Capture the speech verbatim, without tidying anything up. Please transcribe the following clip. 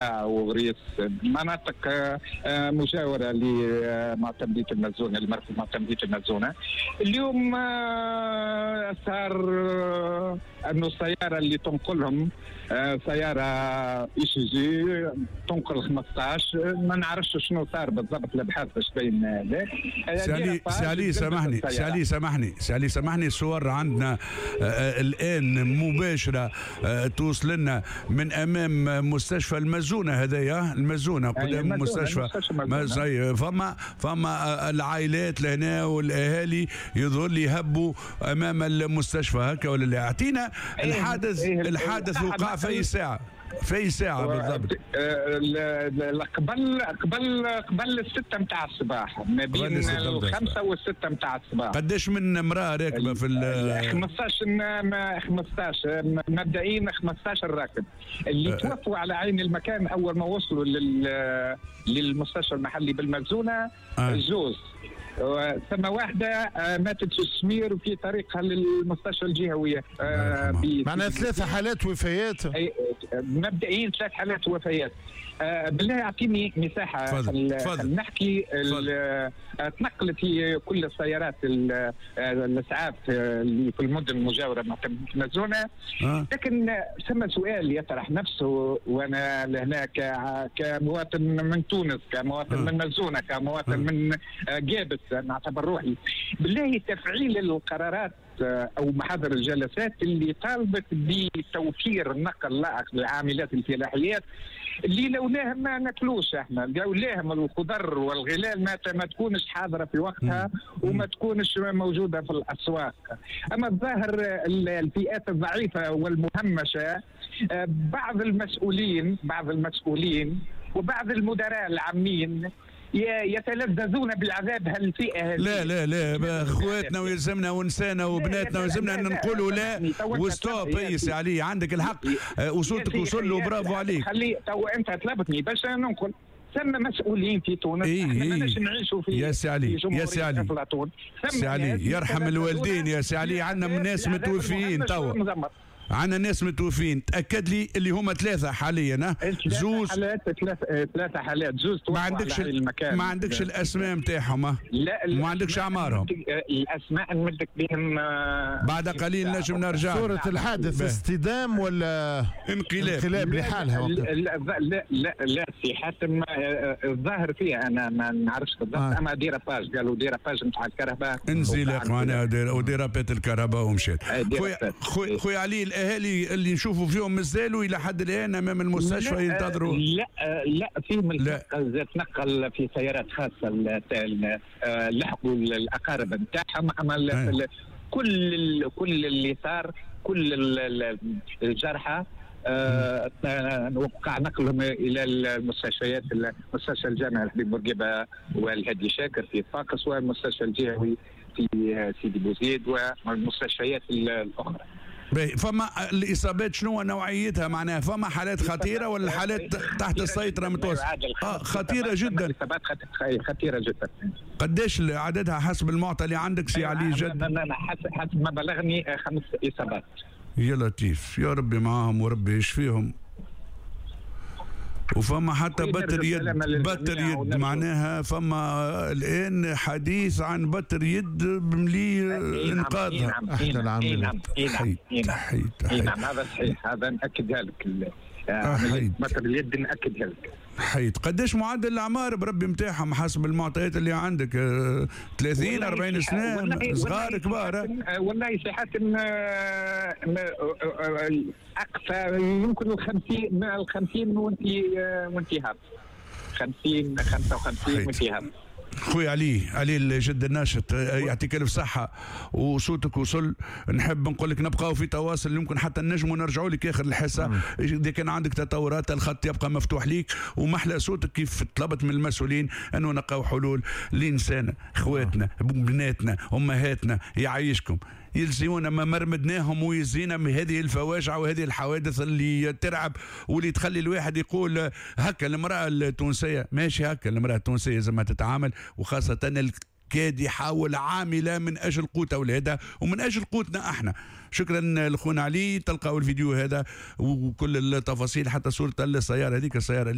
وغريس، مناطق مجاوره لمعتمديه المزونه، لمركز معتمديه المزونه. اليوم صار انه السيارة اللي تنقلهم سيارة ايسوزو تنقل خمسطاش، ما نعرفش شنو صار بالضبط، الابحاث باش تبين ذلك. سي علي، سي علي سامحني، سي علي سامحني، سي علي سامحني، الصور عندنا الان مباشرة توصل لنا من امام مستشفى المزونه، هذايا المزونه قدام المستشفى، فما فما العائلات لهنا والاهالي يظهر لي هبوا امام المستشفى هكا ولا لا؟ اعطينا الحادث، الحادث وقع في اي ساعة؟ في اي ساعة بالضبط؟ قبل قبل قبل الستة نتاع الصباح، ما بين الخمسة والستة نتاع الصباح. قداش من امرأة راكبة في ال خمسطاش؟ خمسطاش مبدئيا، خمسطاش راكب اللي توفوا على عين المكان اول ما وصلوا لل للمستشفى المحلي بالمزونة. آه. زوز، ثم واحدة ماتت في السمير وفي طريقها للمستشفى الجهوية. آه معناها ثلاثة حالات وفيات مبدئيا، ثلاث حالات وفيات. آه بالله يعطيني مساحة تفضل نحكي. تنقلت في كل السيارات الاسعاف اللي في المدن المجاورة مع المزونه. آه. لكن ثم سؤال يطرح نفسه، وانا لهنا كمواطن من تونس، كمواطن آه. من مزونه، كمواطن آه. من جابس، نعتبر روحي بالله تفعيل القرارات او محاضر الجلسات اللي طالبت بتوفير النقل اللائق للعاملات الفلاحيات اللي لولاهم ما ناكلوش احنا، لولاهم الخضر والغلال ما ما تكونش حاضره في وقتها وما تكونش موجودة في الاسواق. اما الظاهر الفئات الضعيفة والمهمشه، بعض المسؤولين، بعض المسؤولين وبعض المدراء العامين يتلذذون بالعذاب هالفئه. لا لا لا، اخواتنا ويلزمنا ونسانا وبناتنا ويلزمنا ان نقولوا لا و stop. اي سي علي عندك الحق، وصوتك وصل له، برافو عليك. خلي تو انت طلبتني باش ننقل، ثم مسؤولين في تونس. إيه احنا ماناش نعيشوا في يا سي علي، يا سي علي، سي علي يرحم الوالدين يا سي علي، عندنا ناس متوفيين توا، عندنا ناس متوفين، تاكد لي اللي هما ثلاثة حاليا. زوز حالات، ثلاثة ثلاثة حالات، زوز ما عندكش المكان، ما عندكش الاسماء نتاعهم؟ لا، ما عندكش اعمارهم؟ الاسماء نمدك بهم بعد قليل نجم نرجع. صورة الحادث اصطدام ولا انقلاب؟ انقلاب لحالها. لا لا لا لا سي حاتم، الظاهر فيها انا ما نعرفش بالضبط. آه. اما dérapage، قالوا dérapage نتاع الكهرباء، انزلاق معناها و dérapات الكهرباء ومشات. خويا خويا علي، الاهالي اللي نشوفوا فيهم مازالوا الى حد الان امام المستشفى ينتظروا؟ لا لا، فيهم تنقل في سيارات خاصة، لحقوا الاقارب نتاعهم. اما كل كل اللي صار، كل الجرحى أه وقع نقلهم الى المستشفيات، المستشفى الجامعي الحبيب بورقيبة والهادي شاكر في صفاقس، والمستشفى الجهوي في سيدي بوزيد، والمستشفيات الاخرى. فما الاصابات شنو نوعيتها؟ معناها فما حالات خطيرة ولا حالات تحت السيطرة متوسطه؟ آه خطيرة جدا. اصابات خطيرة جدا. قداش عددها حسب المعطى اللي عندك سي علي جد؟ حسب ما بلغني خمس اصابات. يا لطيف، يا ربي معاهم وربي يشفيهم. وفما حتى بتر يد، بتر يد معناها فما الان حديث عن بتر يد ملي انقاذها. احدى العاملات. نعم نعم هذا صحيح، هذا ناكدها لك، بتر اليد ناكدها لك. حيت قداش معدل الاعمار بربي نتاعهم حسب المعطيات اللي عندك؟ ثلاثين أربعين سنة، صغار كبار؟ والله سي حاتم اقصى يمكن الخمسين، الخمسين وانت وانت هاب، خمسين خمسة وخمسين وانت هاب. خويا علي، علي الجد الناشط، يعطيك الف صحة وصوتك وصل. نحب نقول لك نبقاو في تواصل، يمكن حتى نجموا نرجعوا لك اخر الحصة اذا كان عندك تطورات، الخط يبقى مفتوح ليك. ومحلى صوتك كيف طلبت من المسؤولين انه نلقاو حلول لانسان، اخواتنا، بناتنا، امهاتنا، يعيشكم يلزمونا ما مرمدناهم ويزينا من هذه الفواجع وهذه الحوادث اللي ترعب واللي تخلي الواحد يقول هكا المرأة التونسية ماشي، هكا المرأة التونسية زي ما تتعامل، وخاصة كادحه والعامله من اجل قوت اولادها ومن اجل قوتنا احنا. شكرا لخونا علي، تلقاو الفيديو هذا وكل التفاصيل، حتى صوره السيارة هذيك، السيارة.